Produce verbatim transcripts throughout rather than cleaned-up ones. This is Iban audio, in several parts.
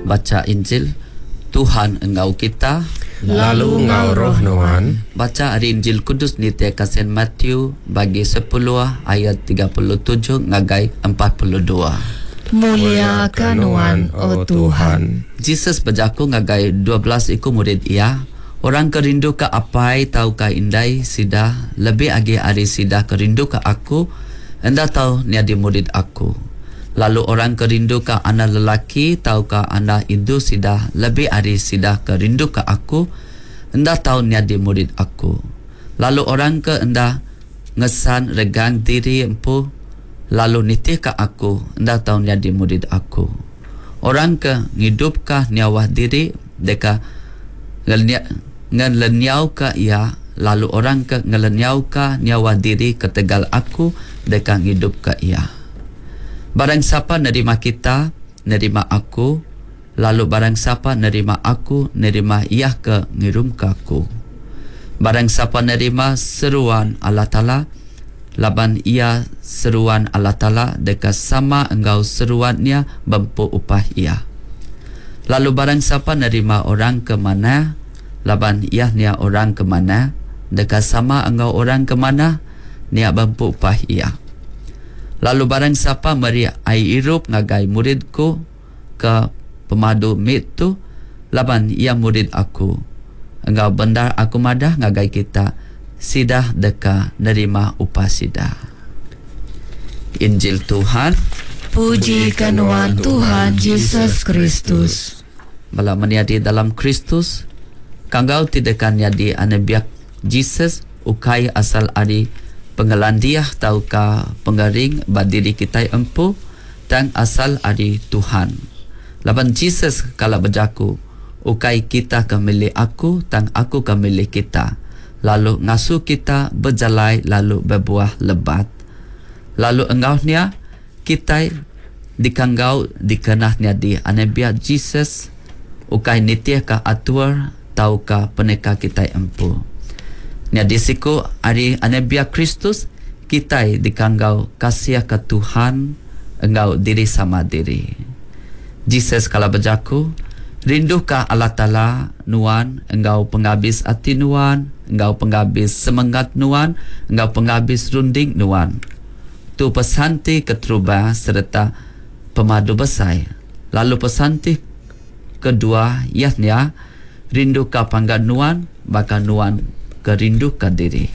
Bacha Injil Tuhan enggau kita. Lalu enggau roh nuan. Bacha ari Injil Kudus nitihka Saint Matthew bagi sepuluh ayat tiga puluh tujuh ngagai empat puluh dua. Mulia ka nuan, O Tuhan. Jesus bejaku ngagai dua belas iku murid iya, orang ke rinduka apai tauka indai sida lebih agi ari sida ke rinduka aku, enda tau nyadi murid aku. Lalu orang ke rinduka anak lelaki tauka anak indu sida lebih ari sida ke rinduka aku, enda tau nyadi murid aku. Lalu orang ke enda ngesan regang diri empu lalu nitihka aku, enda tau nyadi murid aku. Orang ke ngidupka nyawa diri deka ngelenyauka iya, lalu orang ke ngelenyauka nyawa diri ketegal aku deka ngidupka iya. Barang siapa nerima kita, nerima aku, lalu barang siapa nerima aku, nerima iya ke ngirumka aku. Barang siapa nerima seruan Allah Taala, laban ia seruan Allah Taala deka sama enggau seruannya bempu upah ia. Lalu barang siapa nerima orang ke mana, laban ia nia orang ke mana, deka sama enggau orang ke mana, nia bempu upah ia. Lalu barang siapa meri ai irup ngagai muridku ke pemadu mit tu, laban ia murid aku, enggau bendar aku madah ngagai kita, sida deka nerima upah sida. Injil Tuhan. Puji ka nuan Tuhan Jesus Kristus. Bala menyadi dalam Kristus, kanggau ti deka nyadi anak Jesus ukai asal ari pengelandiah tauka pengaring ba diri kita empu, tang asal ari Tuhan. Laban Jesus kala bejaku, ukai kita ke milih aku, tang aku ke milih kita. Lalu ngasuh kita berjalai lalu berbuah lebat. Lalu engaunya kita dikanggau dikenah nyadi anak Jesus ukai nitih ka atur tauka peneka kita empu. Nyadi siku ari anak Kristus kita dikanggau kasih ke Tuhan enggau diri sama diri. Jesus kala bejaku, rinduka Allah Taala nuan enggau pengabis ati nuan, enggau pengabis semangat nuan, enggau pengabis runding nuan. Tu pesan ti keterubah sereta pemadu besai. Lalu pesan ti kedua ianya rinduka panggan nuan baka nuan kerinduka diri.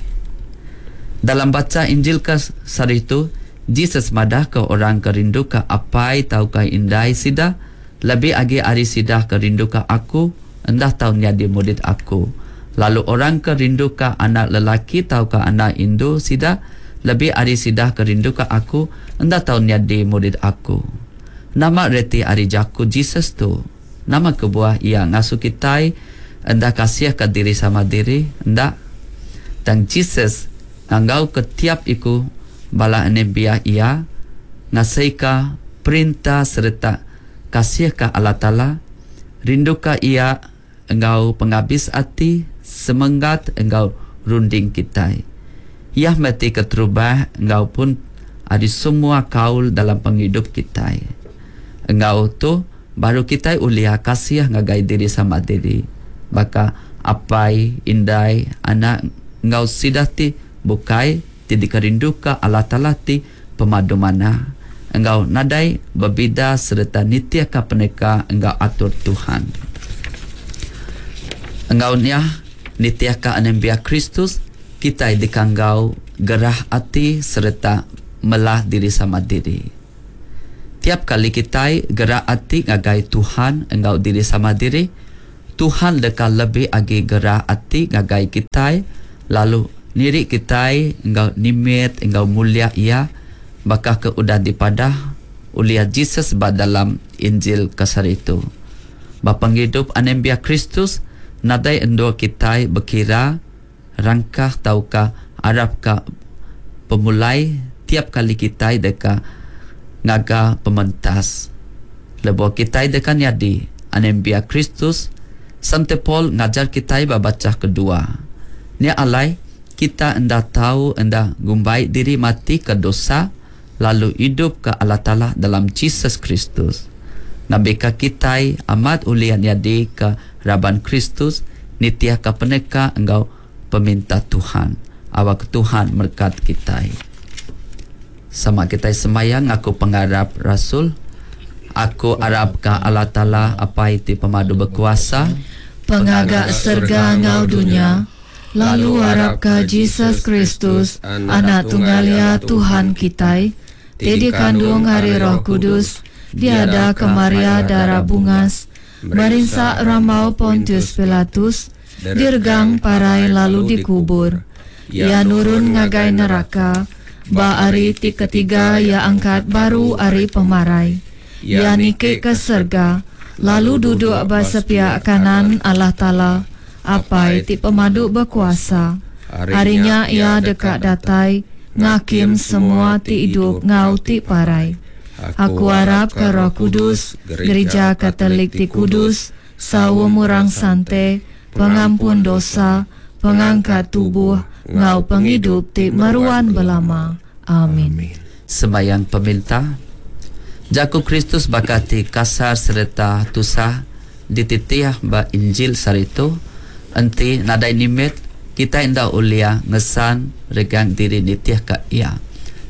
Dalam baca Injil ke sehari tu, Jesus madah ke orang kerinduka apai tauka indai sida lebih agi ari sida kerinduka aku, enda tau nyadi murid aku. Lalu orang kerinduka anak lelaki tauka anak indu sida lebih ari sida kerinduka aku, enda tau nyadi murid aku. Nama reti ari jaku Jesus tu? Nama kebuah ia ngasuh kitai enda kasih ke diri sama diri? Enda. Tang Jesus nganggau ke tiap iku bala anembiak ia ngasihka perintah sereta kasih ke Allah Taala, rinduka ia enggau pengabis ati, semangat enggau runding kitai. Ia mesti keterubah enggau pun ari semua kaul dalam penghidup kitai. Enggau tu baru kitai ulia kasih ngagai diri sama diri. Baka apai, indai, anak enggau sida ti bukai ti dikerinduka Allah Taala ti pemadu mana enggau nadai berbida sereta nitihka peneka enggau atur Tuhan. Enggau nya nitihka anembiak Kristus kitai dikanggau gerah ati sereta melah diri sama diri. Tiap kali kitai gerah ati ngagai Tuhan enggau diri sama diri, Tuhan deka lebih agi gerah ati ngagai kitai lalu niri kitai enggau nimit enggau mulia ia baka ke udah dipadah oleh Jesus ba dalam Injil kasar itu. Ba penghidup anembiak Kristus nadai endur kitai berkira rangkah tauka arap ka pemulai tiap kali kitai deka ngaga pementas. Lebuh kitai deka nyadi anembiak Kristus, Sante Paul ngajar kitai ba baca kedua. Nya alai kita enda tahu enda gumbai diri mati ke dosa lalu hidup ke Allah Taala dalam Jesus Kristus. Ngambika kitai amat ulih nyadi ke raban Kristus nitiah ke peneka enggau peminta Tuhan. Awak Tuhan merkat kitai. Sama kitai semayang aku pengarap Rasul. Aku arap ka Allah Taala Apai ti pemadu berkuasa, pengaga serga ngau dunia, lalu arap ka Jesus Kristus, anak tunggal ya Tuhan kitai, ti dikandung ari Roh Kudus, diada ke Maria darah bungas, merinsa rambau Pontius Pilatus, diregang parai lalu dikubur. Ia nurun ngagai neraka, ba ari ti ketiga ia angkat baru ari pemarai. Ia niki ke serga, lalu duduk ba sepiak kanan Allah Taala, Apai ti pemadu berkuasa. Harinya ia deka datai, ngakim semua ti hidup ngau ti parai. Aku harap ke Roh Kudus, Gereja Katolik ti Kudus, saum orang sante, pengampun dosa, pengangkat tubuh, ngau penghidup ti meruan belama. Amin. Sembayang peminta. Jaku Kristus bakati kasar serta tusah dititiah ba Injil saritu enti nadai nimit kita indah ulia ngesan regang diri nitiah ka ia.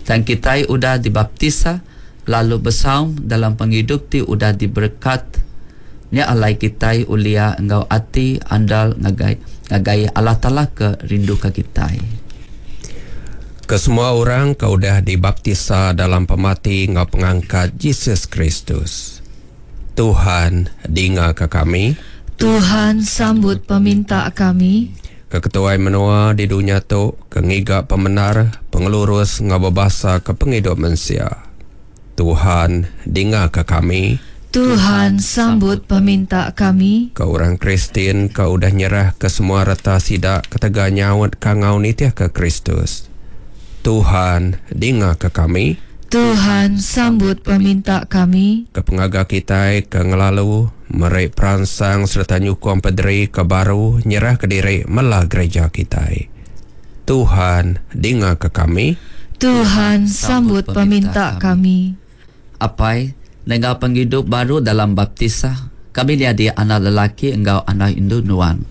Dan kita udah dibaptisa lalu besaum dalam penghidup ti udah diberkat nya alai kita ulia enggau ati andal ngagai ngagai Allah Taala ke rindu ka kita. Ke semua orang ke udah dibaptisa dalam pemati ngau pengangkat Jesus Kristus. Tuhan dinga ke kami. Tuhan sambut peminta kami. Ke ketuai menua di dunia tu, ke ngiga pemenar, pengelurus ngau berbahasa ke penghidup manusia. Tuhan dinga ke kami. Tuhan sambut peminta kami. Ke orang Kristian ke udah nyerah ke semua reta sidak ketega nyaut ka ngau nitiah ke Kristus. Tuhan dinga ke kami. Tuhan sambut peminta kami. Ke pengaga kita ke ngelalu merik peransang serta nyukong pederi ke baru nyerah ke diri melah gereja kita. Tuhan dinga ke kami. Tuhan sambut peminta kami. Apai nengah penghidup baru dalam baptisa kami dia anak lelaki enggau anak indu nuan.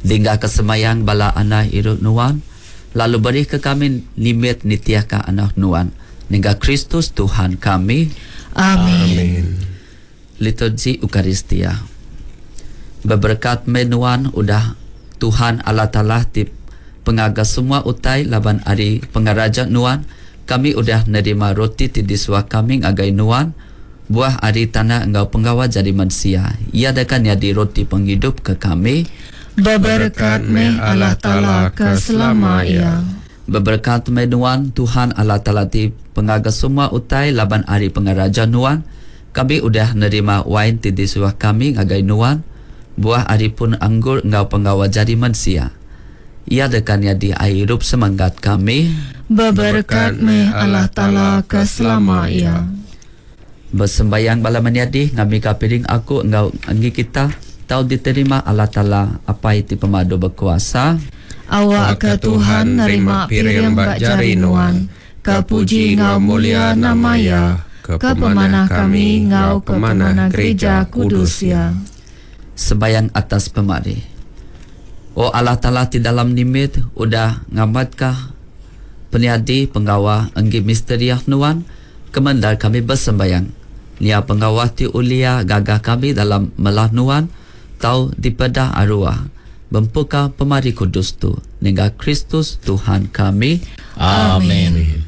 Dingga kesemayang bala anak iru nuan, lalu beri ke kami nimit nitiah ka anak nuan. Nengah Kristus Tuhan kami. Amin. Amin. Liturgi Eucharistia. Beberkat menuan udah Tuhan Allah Taala ti pengaga semua utai laban ari pengaraja nuan kami udah nerima roti ti disuah kami ngagai nuan buah ari tanah enggau penggawa jadi manusia. Ia dekan jadi roti penghidup ke kami. Beberkat meh Allah Taala ke selama ia. Beberkat meh nuan Tuhan Allah Taala ti pengaga semua utai laban ari pengaraja nuan kami udah nerima wain ti disuah kami ngagai nuan buah ari pun anggur enggau penggawa jadi manusia. Ia dekan jadi air hidup semangat kami. Beberkat meh Allah Taala ke selama ia. Bersembayang bala menyadi ngami ka piring aku enggau enggi kita tau diterima Allah Taala Apai ti pemadu berkuasa. Awak ke Tuhan nerima piring bak jari nuan, ke puji ngau mulia nama ya, ke pemanah kami ngau ke pemanah gereja kudus ya. Sembayang atas pemari. O Allah Taala ti dalam nimit udah ngamatkah peniadi penggawa enggi misteri nuan kemendar kami bersembayang. Nia penggawa ti ulia gagah kami dalam melah nuan tau dipedah arwah bempuka pemari kudus tu nengah Kristus Tuhan kami. Amin.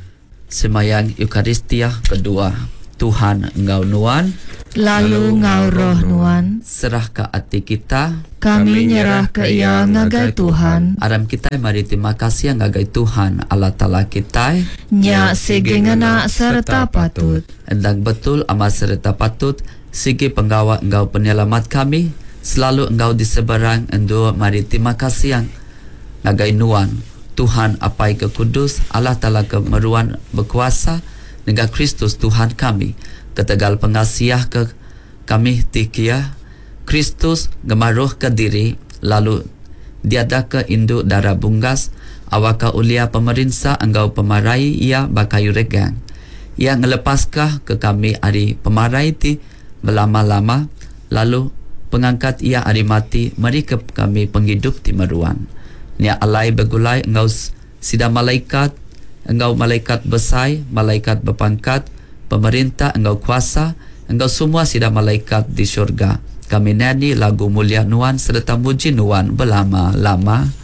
Semayang Eucharistia kedua. Tuhan enggau nuan, lalu ngau roh nuan, serah ke ati kita, kami nyerah ke ia ngagai Tuhan. Aram kita mari terima kasih ngagai Tuhan Allah Taala kita. Nya sigi ngena serta patut. Endang betul amat serta patut sigi penggawa enggau penyelamat kami selalu enggau diseberang endur mari terima kasih ngagai nuan Tuhan Apai ke Kudus Allah Taala ke meruan berkuasa dengan Kristus Tuhan kami. Ketegal pengasiah ke kami tikia Kristus gemaruh ke diri lalu diada ke induk darah bunggas awaka ulia pemerinsa enggau pemarai ia bakayu regang. Ia ngelepaskah ke kami ari pemarai ti belama-lama, lalu pengangkat Iya ari mati meri ke kami pengidup ti meruan. Nya alai begulai enggau sida malaikat, enggau malaikat besai, malaikat bepangkat, pemerintah enggau kuasa, enggau semua sida malaikat di surga, kami nyanyi lagu mulia Nuan sereta muji Nuan belama-lama.